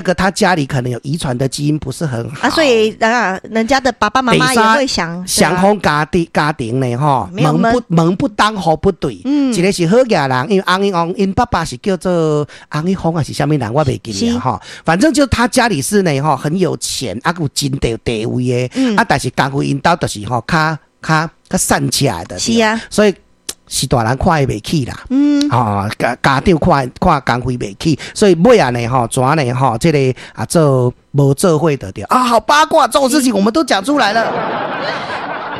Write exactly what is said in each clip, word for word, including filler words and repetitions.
個他家裡可能有遺傳的基因不是很好啊，所以啊，人家的爸爸媽媽也會想，雙方家庭家庭呢，吼，門不門不當戶不對，嗯，一個是好額人，因為翁一翁𪜶爸爸是叫做翁一峰還是啥物人，我袂記得吼。反正就他家裡是呢，吼，很有錢，啊，有真濟地位的，啊，但是江輝𪜶兜就是吼，較較較散起來的，是啊，所以是大人看伊袂起啦，嗯，吼家家長看看江輝袂起，所以尾仔呢，吼，怎呢，吼，這個啊做無做伙的對啊，好八卦，這種事情我們都講出來了。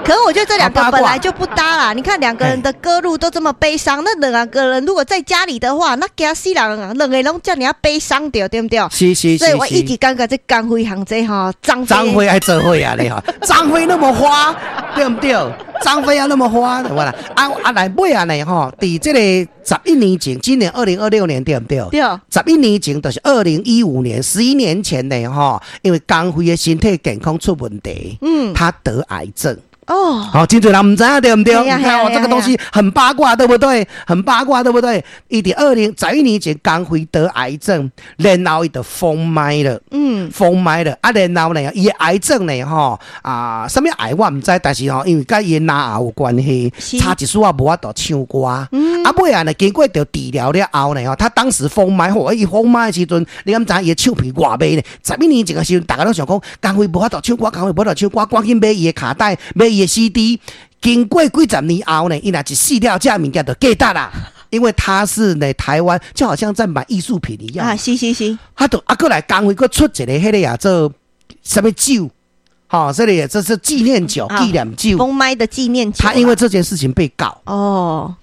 可是我覺得這兩個本來就不搭啦。你看兩個人的歌路都這麼悲傷，那兩個人如果在家裡的話，那驚死人啊！兩個攏遮爾仔悲傷著，對毋對？是是是。所以我一直感覺這江輝和這吼張張飛愛做伙啊，你吼，張飛那麼花，對毋對？張飛啊那麼花，對啦。啊啊來尾仔呢吼，佇這個十一年前，今年二零二六年對毋對？對。十一年前就是二零一五年，十一年前呢吼，因為江輝的身體健康出問題，嗯，他得癌症。哦，好，真濟人毋知影對毋對？你看哦，這個東西很八卦，對不對？很八卦，對不對？伊佇二零十一年前，江輝得癌症，然後伊就封麥了，嗯，封麥了。啊，然後呢，伊的癌症呢，吼啊，啥物癌我毋知，但是吼，因為佮伊的嚨喉有關係，差一絲仔無法度唱歌。嗯，啊，尾仔呢，經過著治療了後呢，吼，他當時封麥，吼，伊封麥的時陣，你敢知伊的唱片偌賣呢？十一年前的時陣，大家攏想講，江輝無法度唱歌，江輝無法度唱歌，趕緊買伊的卡帶，買伊的 C D，經過幾十年後呢，伊若一死了，這物件就價值啦。因為他是呢，台灣就好像在買藝術品一樣啊，是是是，他都啊，閣來江輝閣出一个彼个啊，做啥物酒，吼，這裡這是紀念酒、紀念酒，封麥的紀念酒。他因為這件事情被告哦。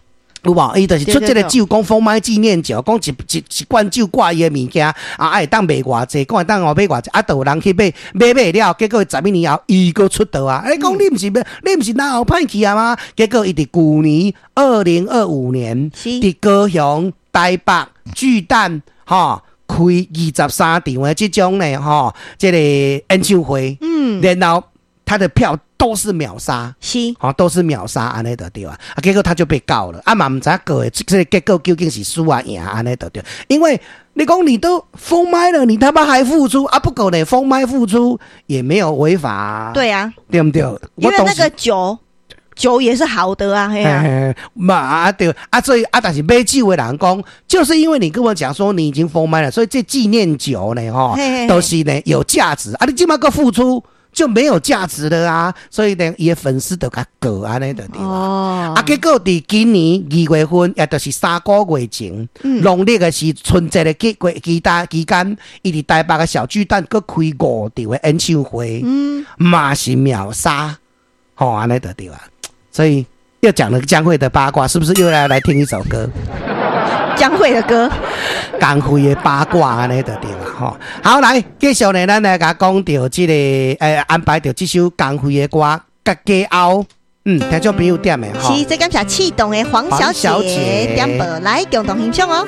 有無？伊就是出這個酒，講封麥紀念酒，講一一一罐酒掛伊的物件，啊，會當賣偌濟，講會當哦賣偌濟，啊，就有人去買，買買了，結果十一年後，伊閣出道啊！欸，講你毋是你毋是嚨喉歹去啊嗎？結果伊佇舊年二零二五年，佇高雄、台北巨蛋，吼，開二十三場的這種呢，吼，這個演唱會，嗯，然後他的票都是秒殺，是，吼，都是秒殺，按呢就對啊，啊，結果他就被告了，啊嘛毋知影告的這個結果究竟是輸啊贏按呢就對，因為你講你都封麥了，你他媽還復出啊？不過呢，封麥復出也沒有違法，對啊，對毋對？因為那個酒酒也是好的啊，嘿啊，嘛啊對啊，所以啊，但是買酒的人講，就是因為你跟我講說你已經封麥了，所以這紀念酒呢，吼，都是呢有價值啊，你這馬閣復出就沒有價值了啊，所以呢，伊的粉絲就共告按呢就對哦。啊，結果佇今年二月份，也就是三個月前，農曆的是春節的期期間期間，伊佇台北的小巨蛋閣開五場的演唱會，嗯，嘛是秒殺，吼，按呢就對啊。所以又講了江蕙的八卦，是不是又來來聽一首歌？江蕙的歌，江蕙的八卦按呢就對啦，吼。好，來繼續呢，咱來共講著這個，欸，安排著這首江蕙的歌，佮家後，嗯，聽眾朋友點的吼。是，這感謝刺桐的黃小姐點播來共同欣賞哦。